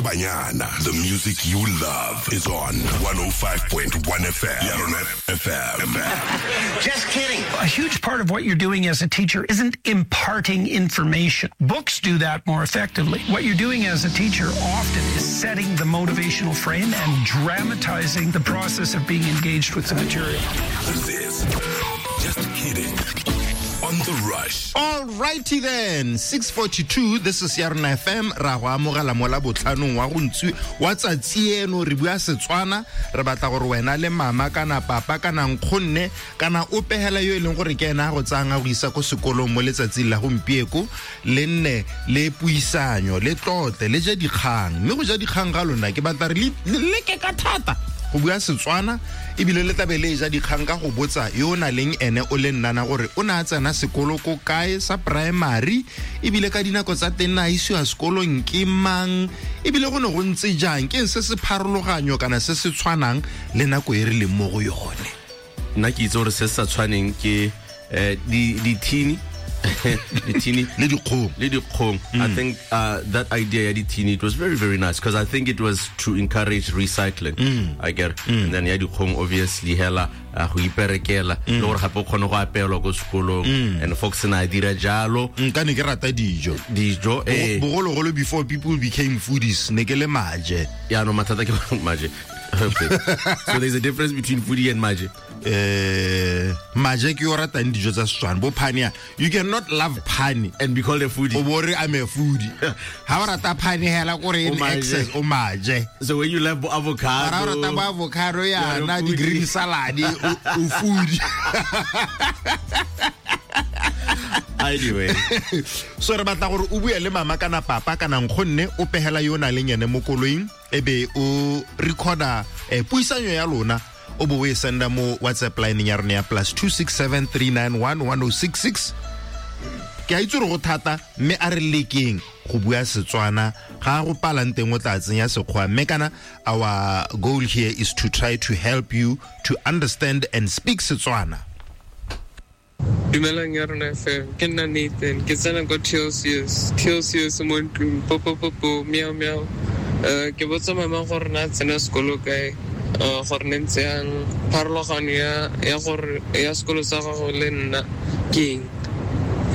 Banyana. The music you love is on 105.1 FM. Yarona FM. Just kidding. A huge part of what you're doing as a teacher isn't imparting information. Books do that more effectively. What you're doing as a teacher often is setting the motivational frame and dramatizing the process of being engaged with the material. This is Just Kidding on the Rush. All righty then, 6:42. This is Yarona FM. Ra go amogela mo la botlhanong wa go ntsi wa tsatsi eno re bua Setswana, re batla gore wena le mama kana papa kana nkgonne kana o pegela yo e leng gore ke ena a go tsayang a go isa ko sekolong mo letsatsing la gompieko, le nne le puisanyo, le tlotle, le je dikgang. Mme go ja dikgang ga lona ke batla re le leke ka thata go bua Setswana, ebile le tlabe le ja dikgang ka go botsa yo o na leng ene o le nnana gore o ne a tsena sekolo ko kae sa primary, ebile ka dinako tsa teng na isiwa sekolong ke mang, ebile go ne go ntse jang, ke eng se se pharologanyo kana se se tshwanang le nako e re leng mo go yone. Nna ke itse gore se se sa tshwaneng ke dithini dithini le dikgong. Le dikgong. I think that idea ya dithini, it was very, very nice because I think it was to encourage recycling. I get it. And then ya dikgong obviously hela go iperekela le gore gape o kgone go apeelwa ko sekolong. And Fox na a dira jalo. Nka ne ke rata dijo. Dijo, eh. Bogologolo before people became foodies, ne ke le maje. Yaanong mathata ke gore maje. Okay. So there's a difference between foodie and maje. Maje ke yo ratang dijo tsa Setswana, bo phane ya. You cannot love phane and be called a foodie. O bo re I'm a foodie. Ha o rata phane hela kore in O maje. excess, o maje. So when you love bo avocado, Ha o rata bo avocado you are a yana, di foodie. green salad, o foodie. Anyway. So re batla gore o bue le mama kana papa kana nkgonne o pegela yo o nang leng ene mo koloing, e be o recorda puisanyo ya lona, o bo o e senda mo WhatsApp line ya rona ya plus two six seven three nine one one oh six six. Ke a itse gore go thata, mme a re lekeng go bua Setswana. Ga go palang teng o tla tsenya Sekgowa, mme kana our goal here is to try to help you to understand and speak Setswana. Dumelang ya rona FM, ke nna Nathan, ke tsena ko TLCS. TLCS mo ntlong, po, po, po, po, meow, meow. Ke botsa mama gore na tsena sekolo kae, gore ne ntse yang, pharologano ya gore ya sekolo sa gago le nna ke eng.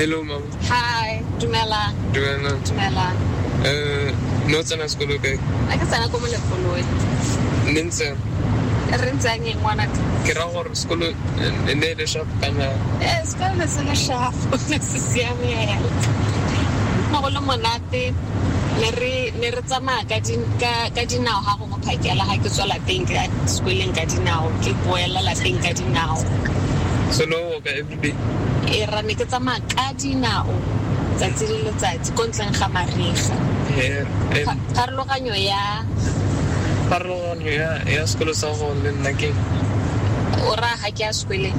Hello mama. Hi, dumela. Dumela. Dumela. Ne o tsena sekolo kae? A ke tsena ko Molepolole. Ne ntse yang? Re ntse yang eng, ngwanaka? Ke raya gore sekolo, ne e le sharp kana? Sekolo ne se le sharp, ne se siame hela. Ne go le monate, ne re tsamaya ka dinao ha gongwe phakela, ha ke tswa lapeng ke ya sekoleng ka dinao, ke boela lapeng ka dinao. So no walk every day? Ra ne ke tsamaya ka dinao tsatsi le letsatsi ko ntleng ga mariga. Pharologanyo ya Pharologanyo ya sekolo sa go le nna ke eng? O raya ga ke ya sekoleng?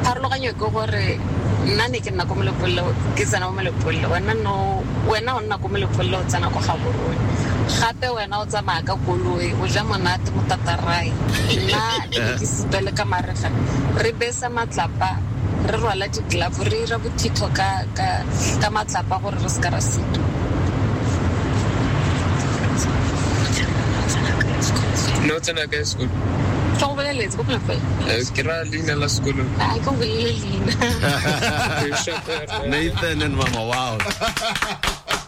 Pharologanyo ke gore nna ne ke nna ko Molepolole, ke tsena mo Molepolole, wena no, wena o nna ko Molepolole, o tsena ko Gaborone. Gape wena o tsamaya ka koloi, o ja monate mo Tatarai. Nna ne ke sitwa le ka mariga. Re besa matlapa, re rwala di-glove, re ira bothitho ka matlapa gore re seka ra sitwa. Ne o tsena kae sekolo? Ke go boleletse ko Molepolole. Ke raya leina la sekolo. A ke go bolelele leina. Nathan and Mama, wow.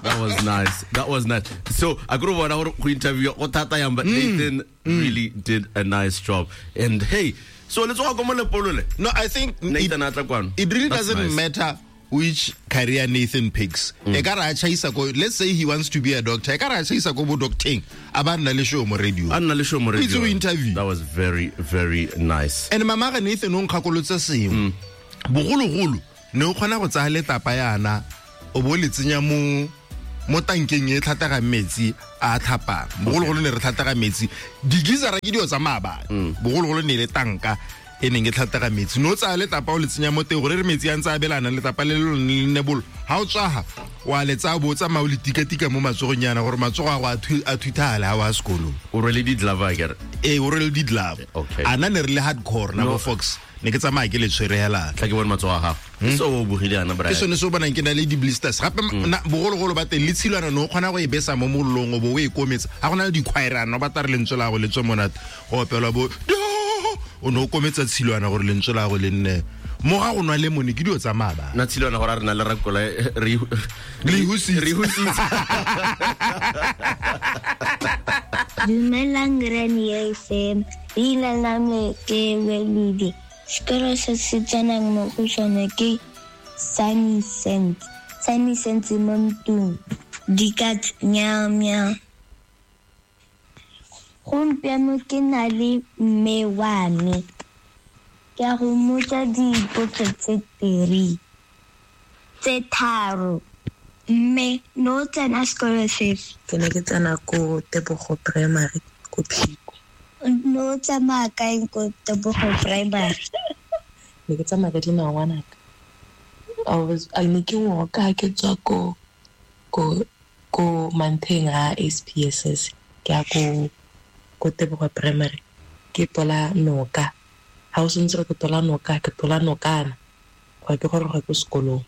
That was nice. That was nice. So I grew up go interview go thata yang, but Nathan really did a nice job. And hey, so let's go Molepolole. No, I think Nathan a tla kwano. it really That's doesn't nice. matter which career Nathan picks. E ka re a tjhaisa ko, let's say he wants to be a doctor. E ka re a tjhaisa ko bo docteng, a ba nna le show mo radio. A nna le show mo radio. Itse o interview. That was very, very nice. And mama ga Nathan o nkgakolotse sengwe. Bogologolo ne o kgona go tsaya letlapa yana, o bo le tsenya mo tankeng e tlhatlagang metsi a tlhapang. Bogologolo ne re tlhatlaga metsi. Di-geyser-a ke dilo tsa maabane. Bogologolo ne le tanka e neng e tlhatlaga metsi. No tsaya letlapa o le tsenya mo teng gore re metsi a ntse a belana, letlapa le le lone le nne bolo. Ha o tswaga, wa le tsaya bo o tsamaya o le tika-tika mo matsogong yana gore matsogo a go a thuthale ha o ya sekolong. O rwele di-glove akere? Ee, o rwele di-glove. Okay. A nna ne re le hardcore na No. bo Fox. Ne ke tsamaya ke le tshwere hela. Tla ke bone matsogo a gago. So o bogile ana Ke Brian. Sone se o bonang ke na le di-blisters gape bogologolo ba teng le tshilwana ne o kgona go e besa mo mollong o bo o e kometsa ga go na le dikhwaerana o batla re lentswe la go le tswe monate go opelwa bo do o ne o kometsa tshilwana gore lentswe la go le nne mo ga go nwa lemone ke dio tsa maabane. Na tshilwana gore a re na le rakola re Le husitse. Re husitse. Dumelang Granny FM, leina la me ke Weludi. Sekolo se se tsenang mo go sone ke Sunny Sands. Sunny Sands mo ntlong. Dikatse meow meow. Gompieno ke na le mme wa me. Ke a go mmotsa dipotso tse 3. Tse 3. Mme no tsena sekolo sefe? Ke ne ke tsena ko Tebogo Primary ko Phikwe. No tsamaya kae ko Tebogo Primary? Ne ke tsamaya ka dinao ngwanaka. I ne ke walk-a ke tswa ko Mantheng a SPSS ke ya ko Tebogo Primary ke tola noka. Ha o sentse ke tola noka ke tola nokana go ke goroga ko sekolong.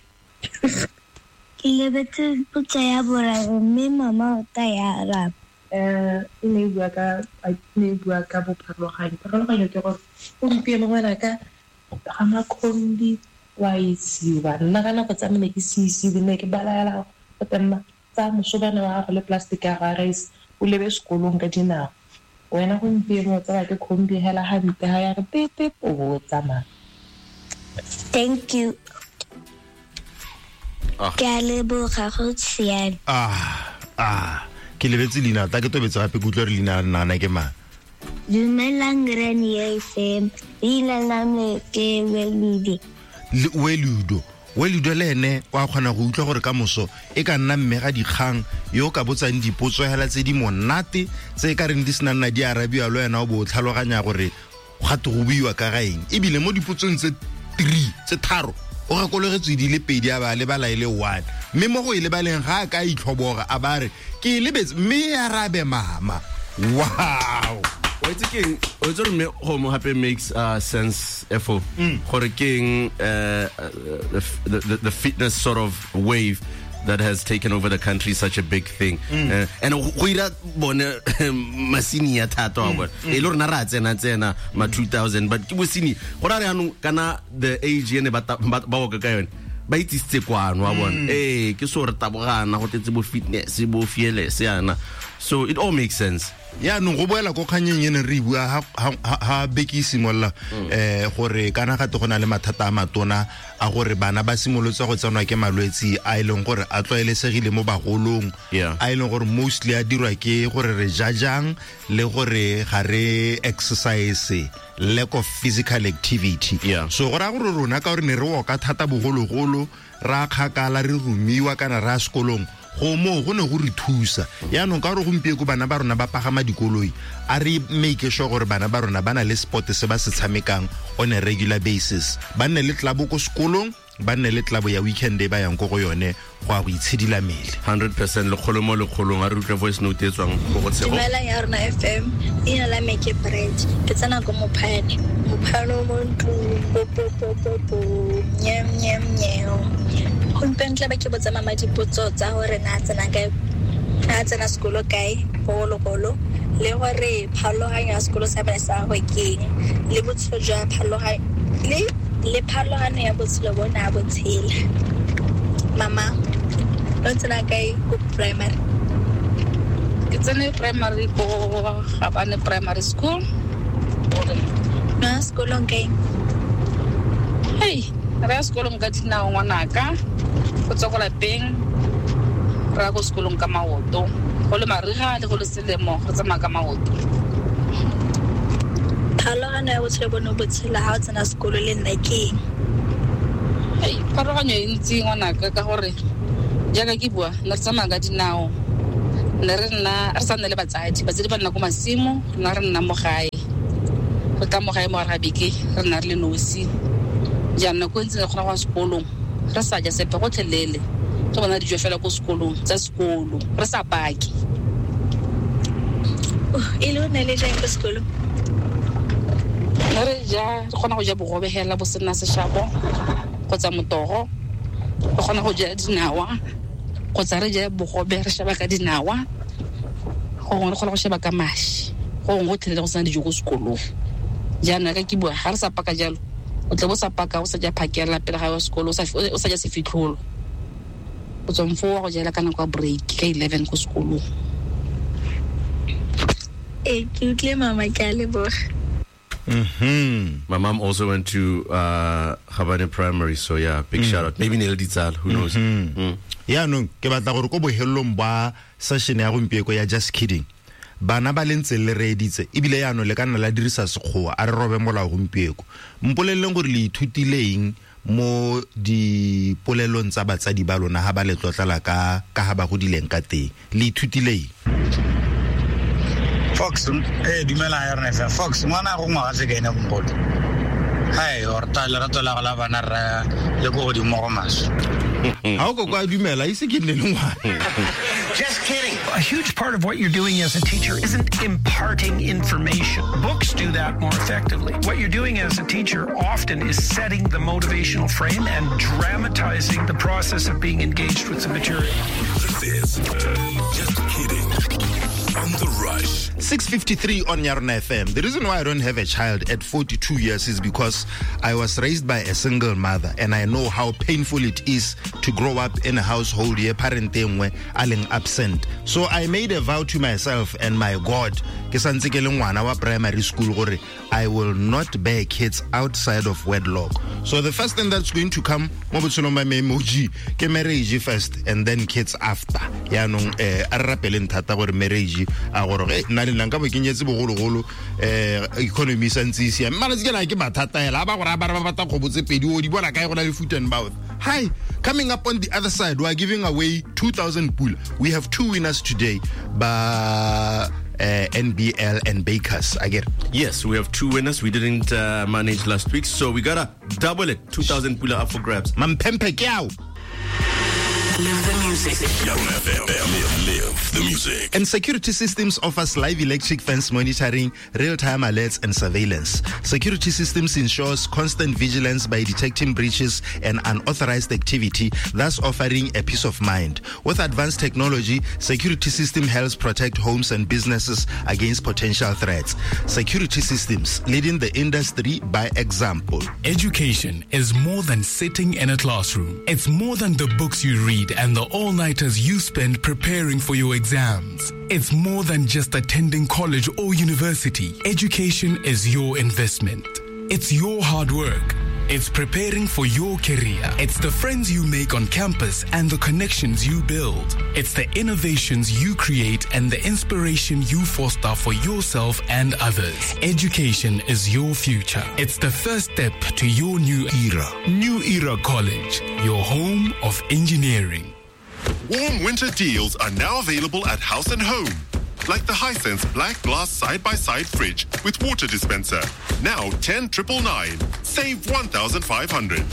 Ke lebetse potso ya boraro mme mama o tla ya araba. E ne e bua ka ne e bua ka bopharologanyo. Pharologanyo ke gore gompieno ngwanaka ga makhombi wa isiwa. Nna ka nako tsa me ne ke se isiwe, ne ke balaela go tsamaya tsa mosobana wa gago le plastic ya ga rice o lebe sekolong ka dinao. Wena gompieno o tsaya ke khombi hela hampe ha ya re pep pep o bo o tsamaya. Thank you. Ah. Ke a leboga go siame. Ke lebetse leina tla ke tobetse gape ke utlwa re leina la nana ke mang. Dumelang Granny FM, leina la me ke Weludi. Weludo Weludo le ene wa kgona go utlwa gore ka moso e ka nna mme ga dikgang yo o ka botsang dipotso hela tse di monate tse e ka reng di sena nna di arabiwa le wena o bo o tlhaloganya gore gate go buiwa ka ga eng ebile mo dipotsong tse 3 tse 3 o gakologetswe di le 2 a ba lebala e le 1 mme mo go e lebaleng ga a ka itlhoboga a ba re ke e lebetse mme e arabe mama. Wow. O itse keng o itse gore mme go mo hape makes sense efo gore keng the fitness sort of wave that has taken over the country is such a big thing. And go ira bone masini ya thata wa bona e le rona ra tsena ma 2000 but ke bosini go ra re anong kana the age ene ba ba ka yone ba itsisitse kwano wa bona ke so re tabogana go tetse bo fitness bo fearless yana, so it all makes sense. Yaanong go boela ko kganyeng e ne re bua ha beke e simolola gore kana gate go na le mathata a matona a gore bana ba simolotse go tsenwa ke malwetsi a e leng gore a tlwaelesegile mo bagolong a e leng gore mostly a dirwa ke gore re ja jang le gore ga re exercise, lack of physical activity. So go raya gore rona ka gore ne re woka thata bogologolo ra kgakala re romiwa kana ra sekolong go moo go ne go re thusa. Yaanong ka gore gompieko bana ba rona ba pagama dikoloi a re make sure gore bana ba rona ba na le sport se ba se tshamekang on a regular basis, ba nne le tlabo ko sekolong, ba nne le tlabo ya weekend e ba yang ko go yone go a go itshidila mmele. 100% lekgolo mo lekgolong. A re utlwe voice note e tswang go go Tshego. Dumelang ya rona FM, leina la me ke Brad, ke tsena ko Mophane. Mophane mo ntlong, po po po po po, nyam nyam nyam. Gompieno tla ba ke botsa mama dipotso tsa gore na tsena kae, na tsena sekolo kae bogologolo, le gore pharologanyo ya sekolo sa bone sa gagwe ke eng, le botshelo jwa pharologanyo le pharologano ya botshelo bo na bo tshela. Mama, o tsena kae ko primary? Ke tsene primary ko Gabane Primary School. Na sekolong kae? Hey, re ya sekolong ka dinao ngwanaka, go tswa ko lapeng re ya ko sekolong ka maoto, go le mariga le go le selemo re tsamaya ka maoto. Pharologano ya botshelo bo ne bo tshela ha o tsena sekolo le nna ke eng? Hei, pharologanyo e ntsi ngwanaka ka gore jaaka ke bua ne re tsamaya ka dinao, ne re nna re sa nne le batsadi, batsadi ba nna ko masimo, rona re nna mo gae, go tla mo gae mo gare ga beke re nna re le nosi. Jaanong nako e ntsi re kgona go ya sekolong re sa ja sepe gotlhelele, re bona dijo fela ko sekolong tsa sekolo re sa pake. E le o ne le jang ko sekolong? Ne re ja, re kgona go ja bogobe hela bo sena seshabo, Kgotsa motogo, re kgona go ja dinawa, kgotsa re je bogobe re sheba ka dinawa, gongwe re kgona go sheba ka mashi, gongwe go tlhele go sena dijo ko sekolong. Jaanong ka ke bua ga re sa paka jalo, o tle bo sa paka o sa ja phakela pele ga ya sekolo, o sa ja sefitlholo. O tswa mfoo wa go jela ka nako ya break ka 11 ko sekolong. Ee, ke utlwile mama, ke a leboga. My mom also went to Gabane Primary, so yeah, big shout out. Maybe Neil Ditsal, who knows? Yaanong ke batla gore ko bohelong ba session ya gompieko ya Just Kidding, bana ba le ntse le reeditse ebile yaanong le ka nna la dirisa sekgowa, a re robe molao gompieko. Mpoleleng gore le ithutileng mo dipolelong tsa batsadi ba lona ha ba le tlotlala ka ha ba godileng ka teng, le ithutileng? Fox, dumela ya rona fa Fox, ngwana go ngwaga se kaena bompolo. Hai, or ta lerato la go la bana ra le go godimo go maswe. Ha o ko a dumela, ise ke nne le ngwana. Just kidding. A huge part of what you're doing as a teacher isn't imparting information. Books do that more effectively. What you're doing as a teacher often is setting the motivational frame and dramatizing the process of being engaged with the material. This is Just Kidding on The Rush. 6:53 on Yarona FM. The reason why I don't have a child at 42 years is because I was raised by a single mother, and I know how painful it is to grow up in a household ye parent e nngwe a leng absent. So I made a vow to myself and my God, ke santse ke le ngwana wa primary school, gore I will not bear kids outside of wedlock. So the first thing that's going to come mo botshelong ba me emoji ke marriage first and then kids after. Yaanong a re rapeleng thata gore marriage a gore nna le nna nka bo ke nyetse bogologolo, economy sa ntse e siame. Malatsi ke na ke mathata hela, ba gore ba re ba batla kgobo tse pedi, o di bona kae go na le foot and mouth. Hi, coming up on the other side, we are giving away 2,000 pula. We have two winners today, ba NBL and Bakers. I get it. Yes, we have two winners. We didn't manage last week, so we gotta double it. 2,000 pula up for grabs. Mampempe ke ao. Live the music. Yarona FM. Live the music. And Security Systems offers live electric fence monitoring, real-time alerts and surveillance. Security Systems ensures constant vigilance by detecting breaches and unauthorized activity, thus offering a peace of mind. With advanced technology, Security System helps protect homes and businesses against potential threats. Security Systems, leading the industry by example. Education is more than sitting in a classroom. It's more than the books you read and the all-nighters you spend preparing for your exams. It's more than just attending college or university. Education is your investment. It's your hard work. It's preparing for your career. It's the friends you make on campus and the connections you build. It's the innovations you create and the inspiration you foster for yourself and others. Education is your future. It's the first step to your new era. New Era College, your home of engineering. Warm winter deals are now available at House and Home. Like the Hisense black glass side-by-side fridge with water dispenser, now 10,999, save 1,500.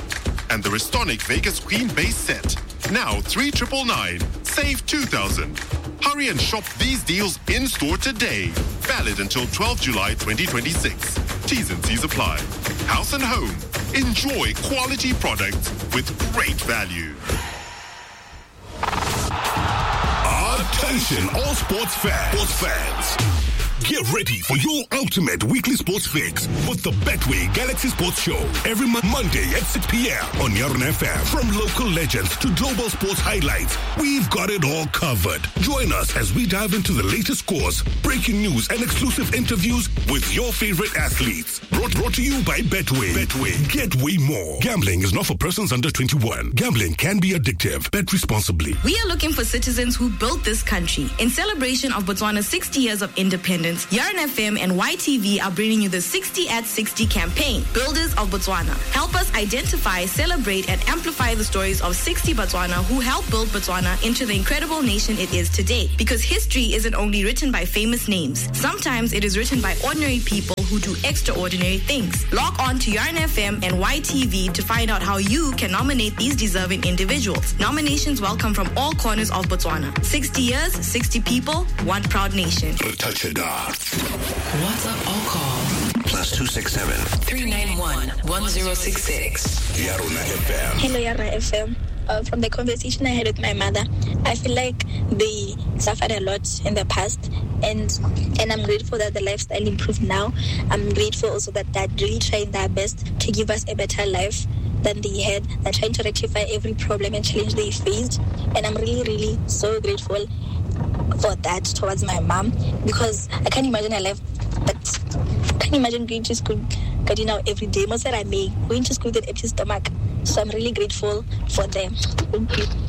And the Restonic Vegas Queen base set, now 3,999, save 2,000. Hurry and shop these deals in-store today. Valid until 12 July 2026. T's and C's apply. House and Home. Enjoy quality products with great value. Attention all sports fans. Get ready for your ultimate weekly sports fix with the Betway Galaxy Sports Show every Monday at 6 p.m. on Yarona FM. From local legends to global sports highlights, we've got it all covered. Join us as we dive into the latest scores, breaking news, and exclusive interviews with your favorite athletes. Brought to you by Betway. Betway. Get way more. Gambling is not for persons under 21. Gambling can be addictive. Bet responsibly. We are looking for citizens who built this country. In celebration of Botswana's 60 years of independence, Yarona FM and YTV are bringing you the 60 at 60 campaign, Builders of Botswana. Help us identify, celebrate, and amplify the stories of 60 Botswana who helped build Botswana into the incredible nation it is today. Because history isn't only written by famous names. Sometimes it is written by ordinary people who do extraordinary things. Log on to Yarona FM and YTV to find out how you can nominate these deserving individuals. Nominations welcome from all corners of Botswana. 60 years, 60 people, one proud nation. Touch it down. WhatsApp or call +267 391 1066. Yarona FM. Hello, Yarona FM. From the conversation I had with my mother, I feel like they suffered a lot in the past, and I'm grateful that the lifestyle improved now. I'm grateful also that they're really trying their best to give us a better life than they had. They're trying to rectify every problem and challenge they faced, and I'm really, really so grateful for that towards my mom, because I can't imagine a life that I can't imagine going to school getting out every day. Most that I make going to school with an empty stomach. So I'm really grateful for them. Thank you.